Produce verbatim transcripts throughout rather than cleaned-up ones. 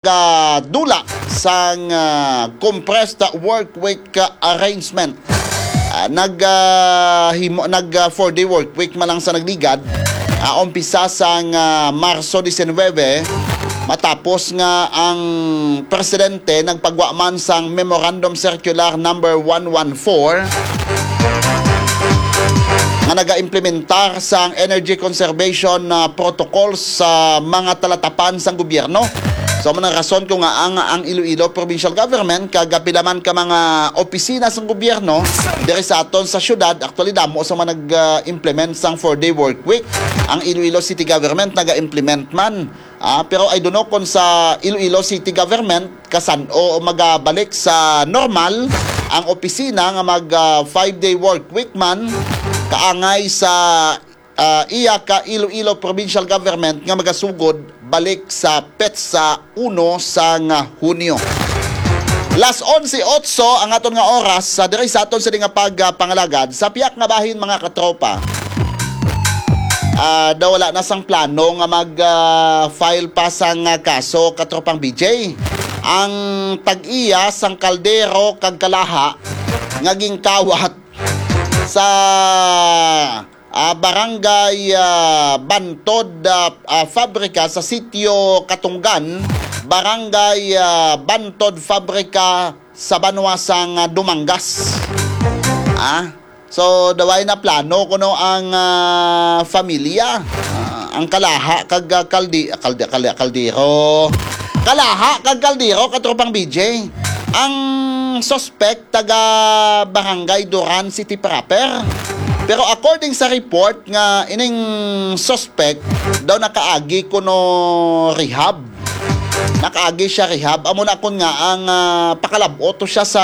nagadula sang, ah, compressed work week, ah, arrangement. Ah, nag, ah, himo, nag, ah, four-day work week man lang sa nagligad. Ah, umpisa sang, ah, Marso diecinuebe, matapos nga ang presidente nagpagwa man sang Memorandum Circular Number one one four nga nagaimplementar sang energy conservation, ah, protocols sa mga talatapan sang gobyerno. So, amo na rason ko nga ang, ang Iloilo Provincial Government kag pila man ka mga opisina sang gobyerno diri sa aton sa syudad, actually, damo sa mga nag-implement sang four-day work week. Ang Iloilo City Government naga-implement man. Ah, pero I don't know kung sa Iloilo City Government kasan-o magabalik sa normal ang opisina nga mag, ah, five-day work week man, kaangay sa, ah, iya ka Iloilo Provincial Government nga magasugod balik sa petsa uno sang Hunyo. Las onse otso ang aton nga oras sa diri sa aton sini nga pagpangalagad sa piyak nga bahin, mga katropa. Ah, daw wala na sang plano nga mag, ah, file pa sang, ah, kaso, katropang B J. Ang tag-iya sang kaldero kag kalaha nga ginkawat sa, ah, Barangay, ah, Bantod, ah, ah, Fabrika sa Sitio Katunggan, Barangay, ah, Bantod Fabrika sa banwa sang, ah, Dumangas. Ah, so, daw wala na plano kuno ang, ah, familia, ah, ang kalaha kag, ah, kaldi-, kaldi-, kaldi-, kaldero. Kalaha kag kaldero, katropang B J. Ang suspect taga Barangay Duran City proper. Pero according sa report nga ining suspect daw nakaagi kuno rehab. Nakaagi siya rehab. Amo na kun nga ang, ah, pakalab-ot to siya sa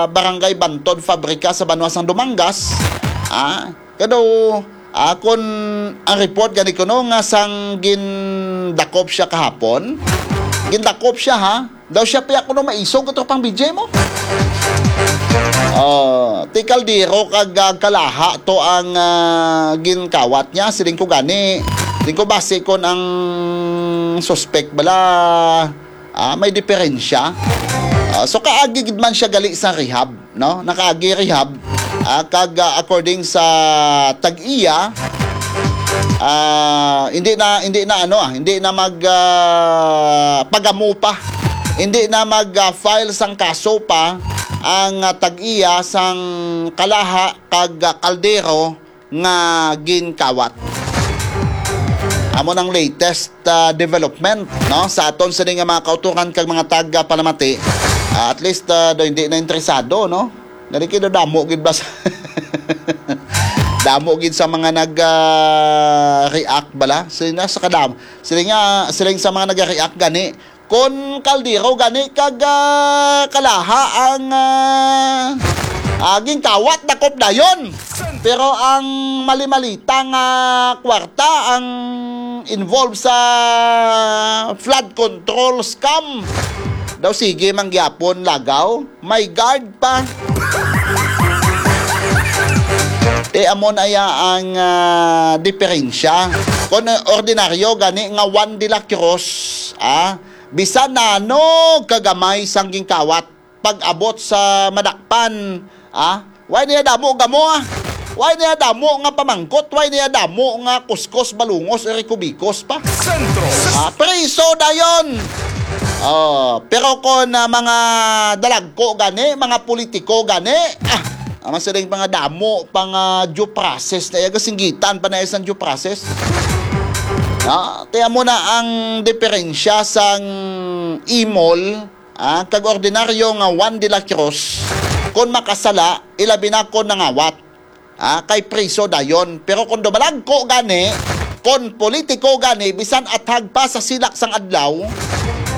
Barangay Bantod Fabrika sa banwa sang Dumangas. Ah, kado, ah, kun ang report gani kuno nga sang gindakop siya kahapon. Gindakop siya, ha? Daw siya pa kuno maisog, katropang B J mo. Oh, ti kaldero kag, ah, kalaha to ang, ah, ginkawat niya. Siling ko gani. Siling ko basi kon ang suspect bala, ah, may diferensya. Ah, so kaagi gid man siya gali sa rehab, no? Nakaagi rehab. Ah, kag, ah, according sa tag-iya, ah, hindi na, hindi na ano, ah, hindi na mag, ah, pagamo pa. Hindi na mag, ah, file sang kaso pa ang, ah, tag-iya sang kalaha kag, ah, kaldero nga ginkawat. Amo nang latest, ah, development, no, sa aton sini nga mga kauturan kag mga taga-palamati. Ah, at least, ah, daw hindi na interesado, no? Gani kay daw damo gid ba sa damo gid sa mga nag, ah, react bala. Sila sa kadam, sila nga, sila sa mga nag-react gani, kon kaldero gani kag, ah, kalaha ang, ah, ah, ginkawat, dakop dayon. Pero ang mali-malita nga kwarta ang involved sa flood control scam. Daw sige man gyapon lagaw, may guard pa. Ti amo na ya ang, ah, diferensya. Kon ordinaryo gani nga Juan de la Cruz, ah, bisan na ano kagamay sang ginkawat, pag-abot sa madakpan, ah, way niya damo gamo, ah. Way niya damo nga pamangkot, way niya damo nga kuskos, balungos, o rikubikos pa. Sentro. Ah, priso dayon. Oh, pero kon, ah, mga dalagko gani, mga politiko gani, ah, ang siling mga damo pa nga due process na iya, gasinggitan pa na isang due process. Ah, kaya mo na ang diferensya sang imol, ah, kag ordinaryo nga Juan de la Cruz, kon makasala, ilabi na kon nangawat, ah, kay priso dayon. Pero kon dumalagko gani, kon politiko gani, bisan athag pa sa silak sang adlaw,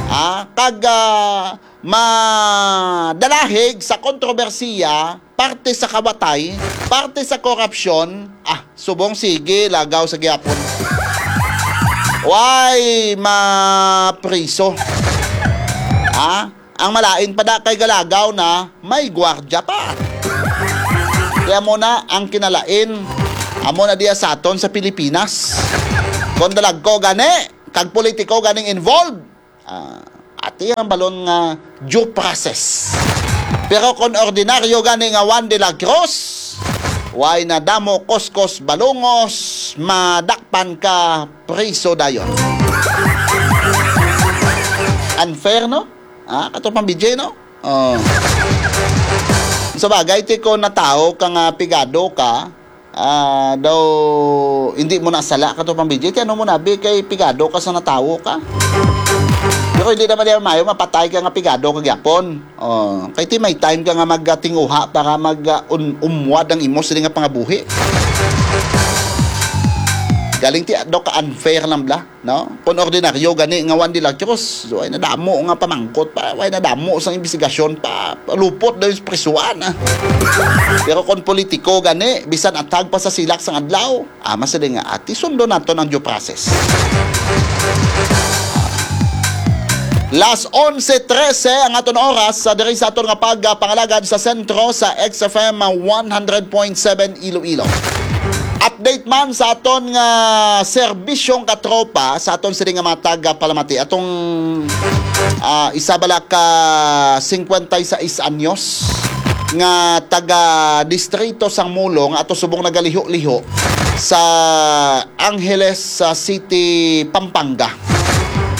ah, kag, ah, madalahig sa kontrobersiya, parte sa kawatay, parte sa korupsyon, ah, subong sige, lagaw sa gihapon. Way mapriso. Ha? Ang malain pa da kay galagaw na, may gwardya pa. Kaya mo na ang kinalain, amo na diya sa aton sa Pilipinas. Kung dalagko gani, kag politiko ganing involved, ah, at Ti ang balon nga due process. Pero kon ordinaryo gani nga Juan de la Cruz, way na damo kuskos balungos, madakpan ka, priso dayon. Unfair, no? Ah, kato pang B J, no? Oh. Sa bagay, ti kon natawo ka nga pigado ka, ah, daw hindi mo na sala kato pang B J, ti ano mo na, bi, kay pigado ka sa natawo ka. Pero hindi naman niya mayo mapatay ka nga pigado ka gyapon. Oh, kay ti may time ka nga magatinguha para mag, ah, un-, umwad ang imo sini nga pangabuhi. Galing ti, daw ka unfair lang bla, no? Kung ordinaryo gani nga Juan de la Cruz, way nadamo nga pamangkot pa, way nadamo sang imbestigasyon pa, lupot daw yung prisuan, ah. Pero kung politiko gani, bisan atag pa sa silak sang adlaw, ah, mas nga ati, sundo naton ang due process. Las onse trese ang aton oras sa diri sa aton nga pagpangalagad sa sentro sa X F M one hundred point seven Iloilo. Update man sa aton nga serbisyong katropa, sa aton sini nga mga taga Palamati, atong, ah, isa bala ka cincuenta y seis anyos nga taga distrito sang Molo nga ato subong nagaliho-liho sa Angeles, sa City, Pampanga.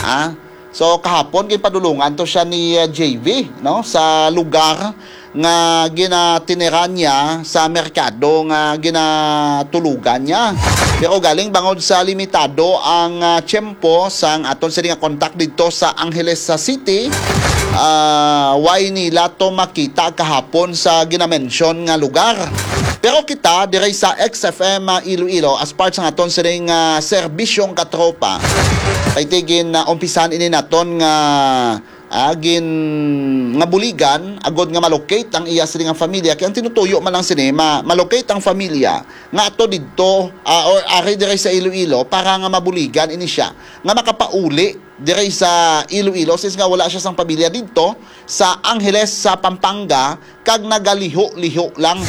Ah, so kahapon ginpadulungan to siya ni, uh, J V, no, sa lugar nga ginatiniran niya, sa merkado nga ginatulugan niya. Pero galing bangod sa limitado ang, uh, tiyempo sang aton sini nga kontak didto sa Angeles, sa City, uh, way nila to makita kahapon sa ginamensyon nga lugar. Pero kita diri sa X F M, ah, Iloilo, as part sang aton sining, ah, serbisyong katropa, kay ti gin, ah, umpisan ini naton nga, ah, gin, nga buligan agod nga malocate ang iya sini nga familia. Kay ang tinutuyo man lang sini, ma-, malocate ang familia nga ato didto, ah, or ari diri sa Iloilo para nga mabuligan ini siya nga makapauli diri sa Iloilo, since nga wala siya sang pamilya didto sa Angeles, sa Pampanga, kag nagaliho-liho lang.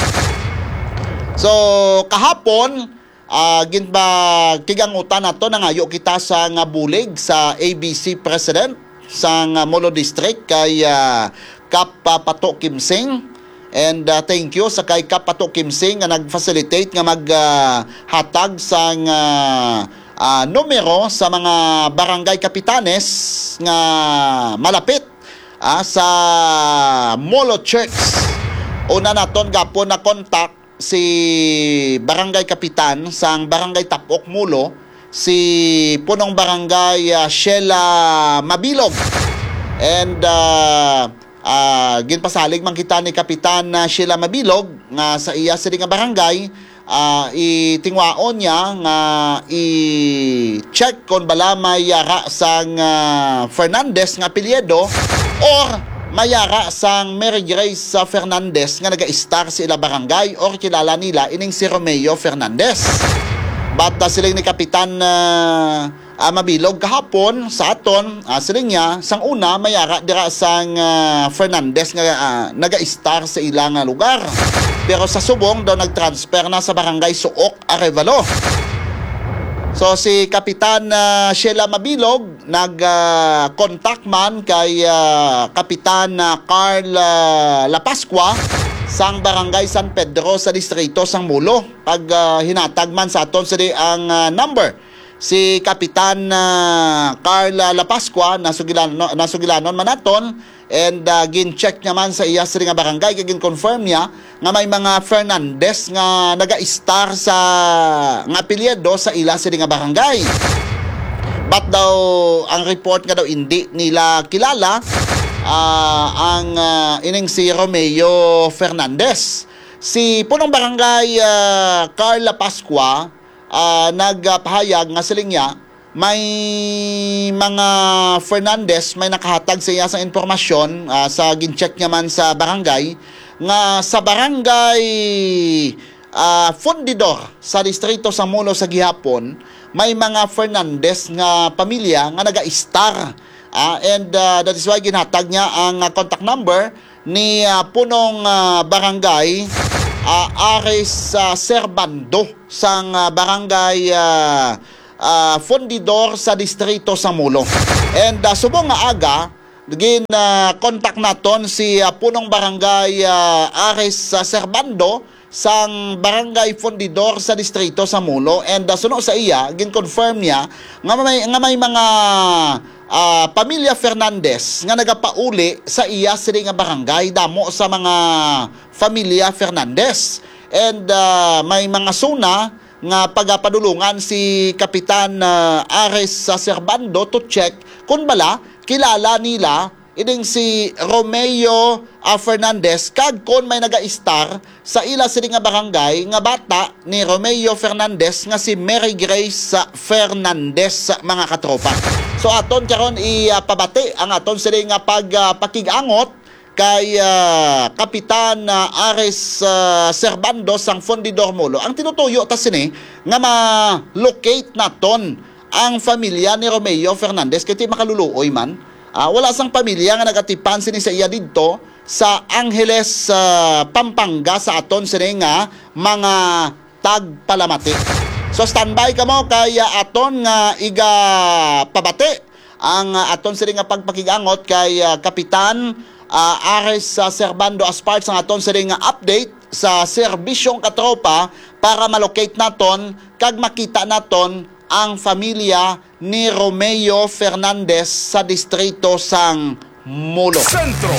So, kahapon, ah, ginpa-, kigangutan nato, nangayo kita sa nga bulig sa A B C President sa nga Molo District kay, ah, Kap, ah, Pato Kimsing. And, ah, thank you sa kay Kap Pato Kimsing nga nag-facilitate nga mag, ah, hatag sang, ah, ah, numero sa mga barangay kapitanes nga malapit, ah, sa Molo Church. Una naton gapon na contact si barangay kapitan sang Barangay Tapok, Molo, si Punong Barangay, ah, Sheila Mabilog. And, ah, ah, ginpasalig man kita ni Kapitan, ah, Sheila Mabilog nga sa iya sini nga barangay, ah, itingwaon niya nga i-check kon bala may yara sang, ah, Fernandez nga apelyido or may yara sang Mary Grace, ah, Fernandez nga naga-istar sa ila barangay or kilala nila ining si Romeo Fernandez. But, ah, siling ni Kapitan, ah, ah, Mabilog kahapon sa aton, ah, siling niya, sang una may yara dira sang, ah, Fernandez nga, ah, naga-istar sa ila nga lugar. Pero sa subong daw nag-transfer na sa Barangay Suok, Arevalo. So si Kapitan, ah, Sheila Mabilog nag, ah, contact man kay, ah, Kapitan, ah, Carl, ah, Lapascua sang Barangay San Pedro sa distrito sang Molo. Pag, ah, hinatag man sa aton sini ang, ah, number si Kapitan, ah, Carl, ah, Lapascua, nasugilan-, no, nasugilanon man naton, and, ah, gin-check niya man sa iya sini nga barangay, kay gin-confirm niya nga may mga Fernandez nga naga-istar sa, nga apelyido sa ila sini nga barangay. But daw, ang report nga daw hindi nila kilala, ah, ang, ah, ining si Romeo Fernandez. Si Punong Barangay, ah, Carl Lapascua, ah, nagpahayag nga siling niya, may mga Fernandez may nakahatag sa iya sang impormasyon, ah, sa gin-check niya man sa barangay, nga sa barangay, ah, Fundidor sa distrito sa Molo sa gihapon, may mga Fernandez nga pamilya nga naga-istar. Ah, and, ah, that is why ginhatag niya ang, ah, contact number ni, ah, Punong, ah, Barangay, ah, Aris, ah, Servando sang, ah, Barangay, ah, ah, Fundidor sa distrito sa Molo. And, ah, subong nga aga, gin, ah, contact naton si, ah, Punong Barangay, ah, Ares, ah, Servando sang Barangay Fundidor sa distrito sa Molo. And, ah, suno sa iya, gin-confirm niya nga may, nga may mga, ah, pamilya Fernandez nga nagapauli sa iya sini nga barangay. Damo sa mga familia Fernandez. And, ah, may mga SONA nga pagapadulungan si Kapitan, ah, Ares sa Servando to check kung bala kilala nila ining si Romeo, ah, Fernandez, kag kon may nagaistar sa ila sini nga barangay nga bata ni Romeo Fernandez nga si Mary Grace Fernandez, mga katropa. So aton karon ipabati ang aton sini nga pag, ah, pakig-angot kay, ah, Kapitan, ah, Ares, ah, Servando sang Fundidor Molo. Ang tinutuyo ta sini nga ma-locate naton ang familia ni Romeo Fernandez kay ti makaluluoy man. Ah, wala sang pamilya nga nagatipan sini sa iya didto sa Angeles, ah, Pampanga sa aton sini nga mga tagpalamati. So standby kamo kay, ah, aton nga igapabati ang, ah, aton sini nga pagpakig-angot kay, ah, Kapitan, ah, Ares, ah, Servando as part sang aton sini nga update sa serbisyong katropa para ma-locate naton kag makita naton ang familia ni Romeo Fernandez sa distrito sang Molo. Sentro.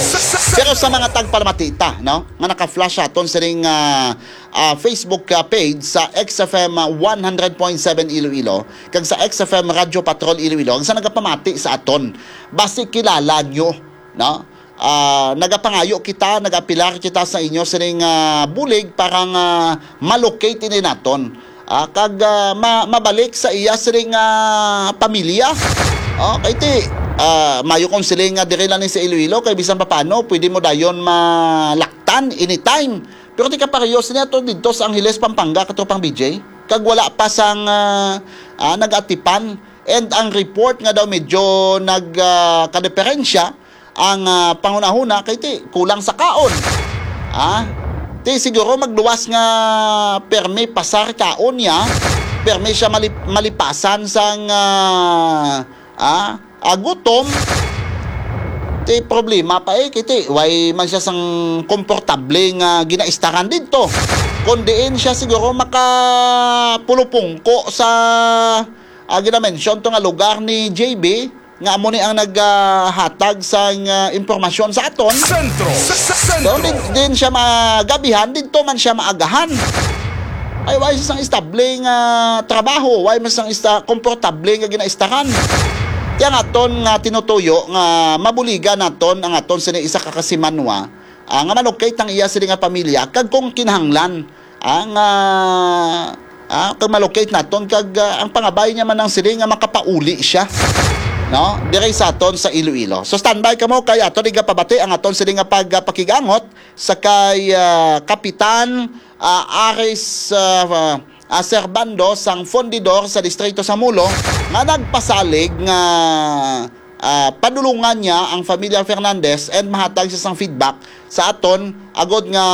Pero sa mga tagpalamati ta, no, nga naka-flash aton sining, ah, ah, Facebook, ah, page sa X F M one hundred point seven Iloilo kag sa X F M Radyo Patrol Iloilo, kag sa nagapamati sa aton, basi kilala nyo, no? Ah, nagapangayo kita, nagapilar kita sa inyo sining, ah, bulig para nga ma-locate ini naton. Ah, kag, ah, ma-, mabalik sa iya sining, ah, pamilya. Oh, kay ti, ah, mayo kung siling nga diri lang ni sa Iloilo, kay bisan pa paano, pwede mo dayon malaktan anytime. Pero ti kapareho sini ato didto sa Angeles, Pampanga, katropang B J. Kag wala pa sang, ah, ah, nag-atipan. And ang report nga daw medyo nag, ah, kadiperensya ang, ah, panghunahuna kay ti kulang sa kaon. Ah, ti siguro magluwas nga permi pasar kaon niya, permi siya malip-, malipasan sang, ah, ah, ah, gutom. Ti problema pa eh, kay ti way man siya sang komportable nga ginaistaran didto. Kon diin siya siguro makapulupungko sa, ah, ginamention to nga lugar ni J B, nga amo ni ang naghatag sang, ah, impormasyon sa aton. Sentro. Sa, sa, So, sentro. Din, din siya magabihan, didto man siya maagahan. Ay, way sang estable nga trabaho, way man sang ista-, komportable nga ginaistaran. Kaya nga aton nga tinutuyo nga mabuligan naton ang aton sini isa ka kasimanwa, ah, nga malocate ang iya sini nga pamilya, kag kung kinahanglan, ah, nga, ah, kag malocate naton, kag, ah, ang pangabay niya man ang sini nga makapauli siya, no? Diri sa aton sa Iloilo. So, standby kamo, kay aton igapabati ang aton sini nga pag-, ah, pakigangot sa kay, ah, Kapitan, ah, Aris, ah, ah, Servando sang Fundidor sa distrito sa Molo nga nagpasalig nga, ah, padulungan niya ang familia Fernandez and mahatag siya sang feedback sa aton agod nga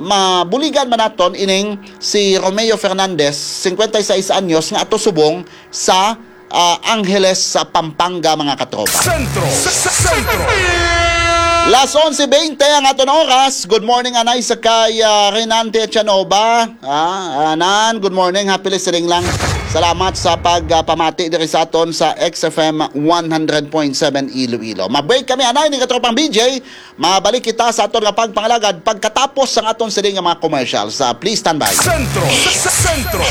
mabuligan man naton ining si Romeo Fernandez, cincuenta y seis anyos, nga ato subong sa, ah, Angeles sa Pampanga, mga katropa. Sentro. Sa, sa, sentro. Las onse veinte ang aton oras. Good morning, anay sa kay, ah, Renante Echanova. Ah, Anan, good morning. Happy listening lang. Salamat sa pag, ah, pamati diri sa aton sa X F M one hundred point seven Iloilo. Ma-break kami, anay, ni katropang B J. Mabalik kita sa aton nga pagpangalagad pagkatapos sang aton sini nga mga commercials. Ah, please stand by. Sentro. Sa, sa, sentro.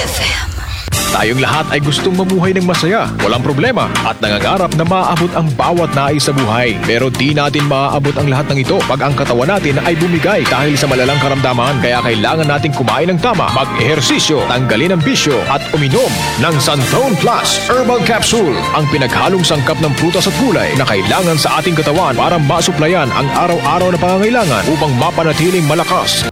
Tayong lahat ay gustong mamuhay ng masaya, walang problema, at nangangarap na maabot ang bawat nais sa buhay. Pero di natin maaabot ang lahat ng ito pag ang katawan natin ay bumigay dahil sa malalang karamdaman. Kaya kailangan nating kumain ng tama, mag-ehersisyo, tanggalin ang bisyo, at uminom ng Santon Plus Herbal Capsule, ang pinaghalong sangkap ng prutas at gulay na kailangan sa ating katawan para masuplayan ang araw-araw na pangangailangan upang mapanatiling malakas.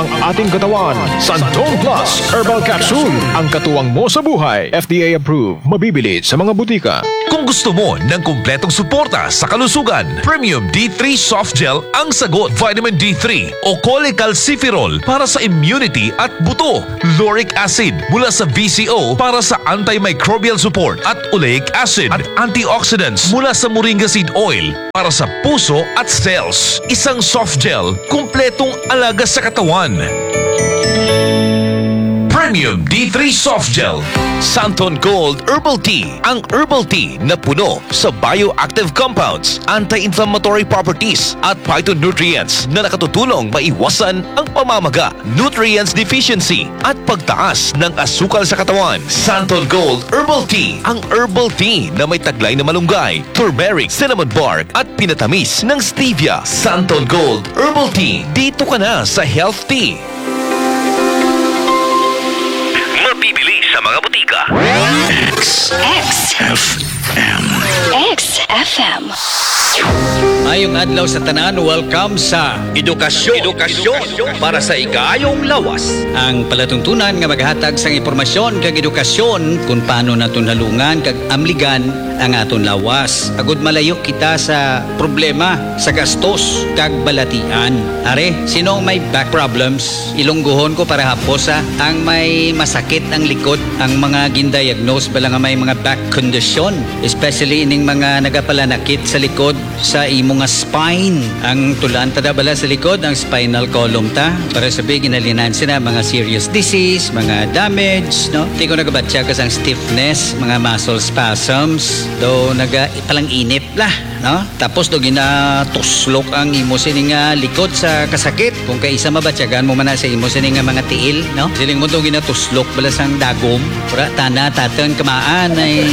Ang ating katawan, Santon Plus Herbal Capsule. Ang katuwang mo sa buhay. F D A approved. Mabibili sa mga butika. Kung gusto mo ng kumpletong suporta sa kalusugan, Premium D three Soft Gel ang sagot. Vitamin D three o cholecalciferol para sa immunity at buto. Lauric acid mula sa V C O para sa antimicrobial support at oleic acid at antioxidants mula sa moringa seed oil para sa puso at cells. Isang soft gel, kumpletong alaga sa katawan. Premium D three Soft Gel. Santon Gold Herbal Tea. Ang herbal tea na puno sa bioactive compounds, anti-inflammatory properties, at phytonutrients na nakatutulong maiwasan ang pamamaga, nutrients deficiency, at pagtaas ng asukal sa katawan. Santon Gold Herbal Tea, ang herbal tea na may taglay na malunggay, turmeric, cinnamon bark, at pinatamis ng stevia. Santon Gold Herbal Tea, dito ka na sa health tea. Mabibili sa mga butika. X. X. F M. X F M. Mayong adlaw sa tanan, welcome sa Edukasyon. Edukasyon para sa ikaayong lawas. Ang palatuntunan nga maghatag sang impormasyon kag edukasyon kung paano naton halungan kag amligan ang aton lawas, agud malayo kita sa problema sa gastos kag balatian. Are, sino ang may back problems? Ilonggohon ko para hapos, ha. Ang may masakit ang likod, ang mga gindiagnose bala nga may mga back condition, especially ining mga nagapalanakit sa likod sa imo nga spine. Ang tulan ta da bala sa likod, ang spinal column ta. Para sabi, ginhalinan sila mga serious disease, mga damage, no? Di ko nagabatya ka sang stiffness, mga muscle spasms, do naga palang inip la, no? Tapos do ginatuslok ang imo sini nga likod sa kasakit. Kung kaisa mabatyagan mo man na sa imo sini nga mga tiil, no? Siling mo do ginatuslok bala sang dagom. Ura, tana, tatang, kamaan, ay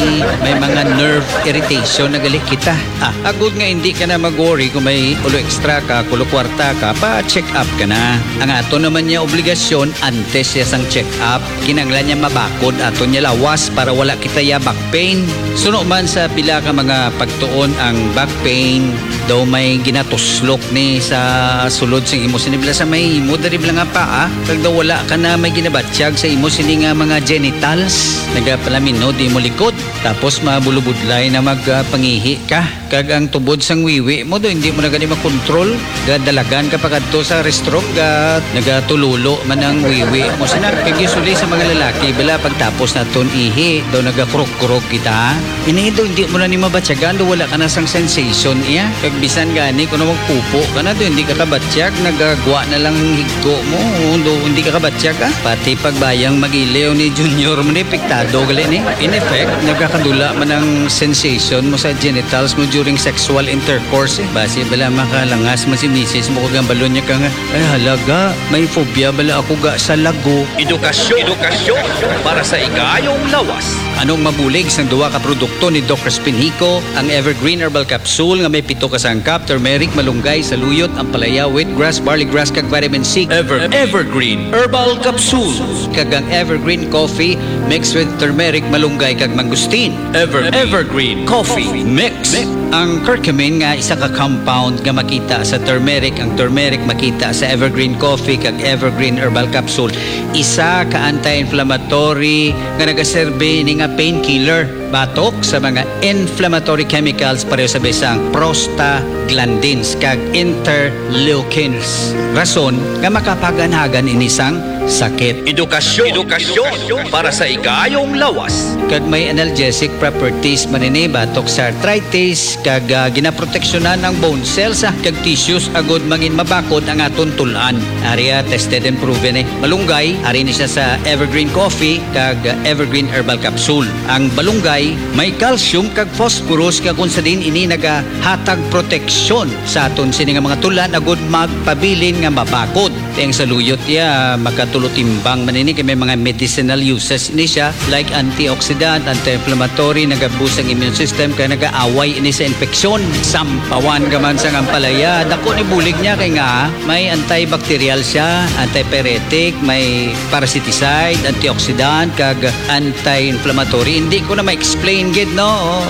may mga nerve irritation na gali kita. Ah, agud nga hindi ka na mag-worry kung may ulo extra ka, kulo kwarta ka, pa-check up ka na. Ang ato naman niya obligasyon, antes siya sang check up, kinanglan niya mabakod ato niya lawas para wala kita ya back pain. Suno man sa pila ka mga pagtuon, ang back pain daw may ginatuslok ni sa sulod sing imo sini bala sa may imo diri bala nga paa, kag daw wala ka na may ginabatyag sa imo sini nga mga genitals, nagapalaminod imo likod, tapos mabulubudlay na magpangihi ka. Kag ang tubod sang wiwi mo do, hindi mo na gani makontrol. Gadalagan ka pa kadto sa restroom, ga nagatululo man ang wiwi mo sina. Kag usually sa mga lalaki, bala pagtapos naton ihi, do nagakurok-kurok kita. Ini do, hindi mo na ni mabatyagan, do wala ka na sang sensation iya. Kag bisan gani kuno magpupo ka na, do hindi ka kabatyag, nagagwa na lang higko mo, do hindi ka kabatyag, ah. Pati pagbayang mag-iliw ni Junior mo ni, apektado gali ni. In effect, nagakadula man ang sensation mo sa genitals mo during sexual intercourse, eh. Basi bala makalangas man si misis mo kag ang balon niya ka nga, "Ay, halaga, may phobia bala ako ga sa lago." Edukasyon. Edukasyon para sa ikaayong lawas. Anong mabulig sang duha ka produkto ni Doc Crispin Hico, ang Evergreen Herbal Capsule nga may pito ka sangkap, turmeric, malunggay, saluyot, ampalaya, wheatgrass, barley grass, kag vitamin C. Ever-, Evergreen Herbal Capsule. Kag ang Evergreen Coffee mixed with turmeric, malunggay, kag mangosteen. Ever-, Evergreen Coffee Mix. Ang curcumin nga isa ka compound nga makita sa turmeric, ang turmeric makita sa Evergreen Coffee kag Evergreen Herbal Capsule. Isa ka anti-inflammatory nga nagaserbi ni nga painkiller batok sa mga inflammatory chemicals pareho sa bisang prostaglandins kag interleukins. Rason nga makapaganhagan ini sang sakit. Edukasyon. Edukasyon para sa ikaayong lawas. Kag may analgesic properties man ini batok sa arthritis, kag, ah, ginaproteksyonan ang bone cells, ah, kag tissues agud mangin mabakod ang aton tul-an. Ari, ah, tested and proven, eh. Malunggay, ari ni siya sa Evergreen Coffee kag, ah, Evergreen Herbal Capsule. Ang balunggay may calcium kag phosphorus, kag kung sa diin ini nagahatag proteksyon sa aton sini nga mga tul-an agud magpabilin nga mabakod. Ang saluyot iya, makatulo timbang man ini kay may mga medicinal uses ini siya, like antioxidant, anti-inflammatory, nagabus ang immune system kay nagaaway ini sa infeksyon. Sampawan ka man sang ampalaya, dako ni bulig niya kay nga may antibacterial siya, antipyretic, may parasiticide, antioxidant, kag anti-inflammatory. Hindi ko na ma-explain gid, no?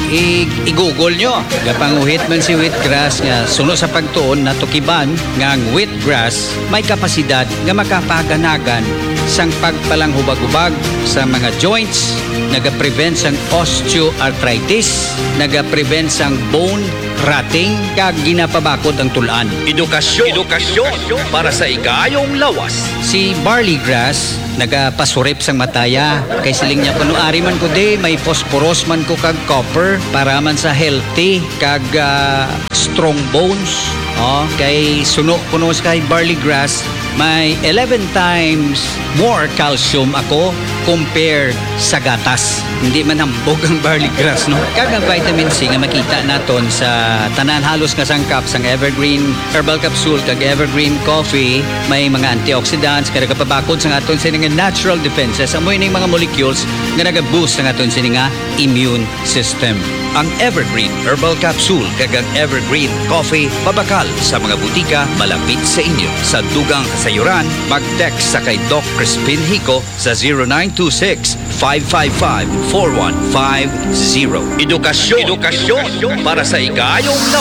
I-, i-google nyo. Gapanguhit man si wheatgrass nga suno sa pagtuon natukiban nga ang wheatgrass May kapasidad nga makapaganagan sang pagpalanghubag-hubag sa mga joints, nagaprevent sang osteoarthritis, nagaprevent sang bone rotting, kag ginapabakod ang tul-an. Edukasyon. Edukasyon para sa igayong lawas. Si barley grass nagapasurip sang mataya. Kay siling niya kuno, "Ari man ko di, may phosphorus man ko kag copper para man sa healthy kag, ah, strong bones." Oh, kay suno kuno sa kay barley grass, may eleven times more calcium ako compared sa gatas. Hindi man hambog ang barley grass, no? Kag ang vitamin C nga makita naton sa tanan halos nga sangkap sang Evergreen Herbal Capsule kag Evergreen Coffee, may mga antioxidants nga nagapabakod sa aton sini nga natural defenses. Amo ining mga molecules nga nagaboost sa aton sini nga immune system. Ang Evergreen Herbal Capsule kag ang Evergreen Coffee mabakal sa mga butika malapit sa inyo. Sa dugang kasayuran, mag-text sa kay Doc Crispin Hico sa zero nine two six, five five five, four one five zero. Edukasyon. Edukasyon para sa igayong